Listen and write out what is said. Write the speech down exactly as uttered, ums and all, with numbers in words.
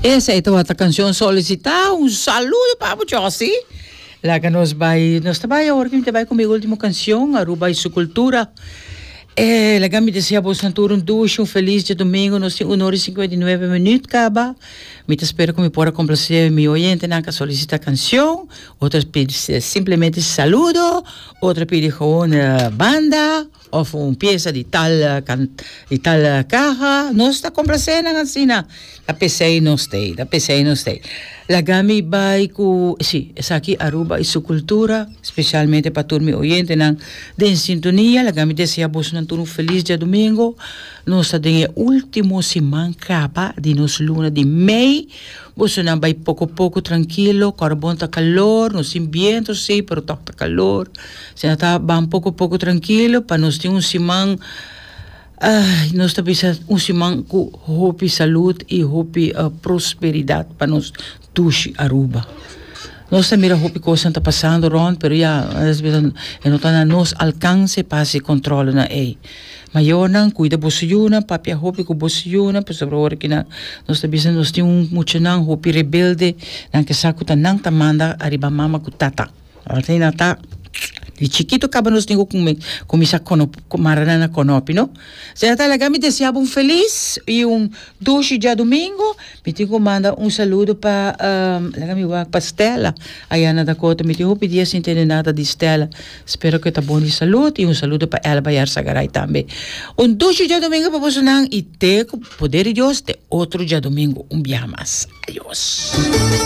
Esey ta cancion solicita. Un saludo pa Josie. Laga nos bay, nos bay awor cu bay cu mi ultimo cancion, Aruba y su cultura. Eh, laga mi desea boso tur un dushi, un feliz diadomingo, nos tin un ora y cincuenta y nuebe minuut caba. Mi ta spera cu mi por complace mi oyentenan cu solicita cancion, otro pidi simplemente saludo, otro pidi gewoon banda, of un pieza di tal, di tal caha. Nos ta complaciendo asina. Ta p'esey nos t'ey, ta p'esey nos t'ey. Laga mi bay cu, si, esaki Aruba y su cultura, specialmente pa tur mi oyentenan den sintonia. Laga mi desea boso un feliz diadomingo. Nos ta den ultimo siman caba di nos luna di mei. Boso nan bay poco poco trankil, carbon ta calor, no tin biento, si, pero ta calor. Asina ta ban poco poco trankil, pa nos tin un siman. Ay, nos ta bisa un siman cu hopi salud y hopi uh, prosperidad pa nos dushi Aruba. Nos mira hopi cos ta pasando rond, pero ya, no ta na nos alcance pa control nan ey. Mayornan, cuida boso yiunan, papia hopi cu boso yiunan, pasobra ora cu na nos ta bisa nos tin un muchanan hopi rebelde, nan ke sa cu ta nan ta manda ariba mama cu tata. Asina ta di chikito caba nos tin cu cuminsa mara na conopi, no? Asina ta, laga mi desea un feliz y un dushi diadomingo. Mi tin cu manda un saludo pa um, laga mi wak pa Stella, aya na Dakota. Mi tin hopi dia sin tende nada di Stella. Spero cu ta bon di salud y un saludo pa Elba Yarsagaray tambe. Un dushi diadomingo pa boso y te poder di Dios te otro diadomingo un biaha mas. Adios.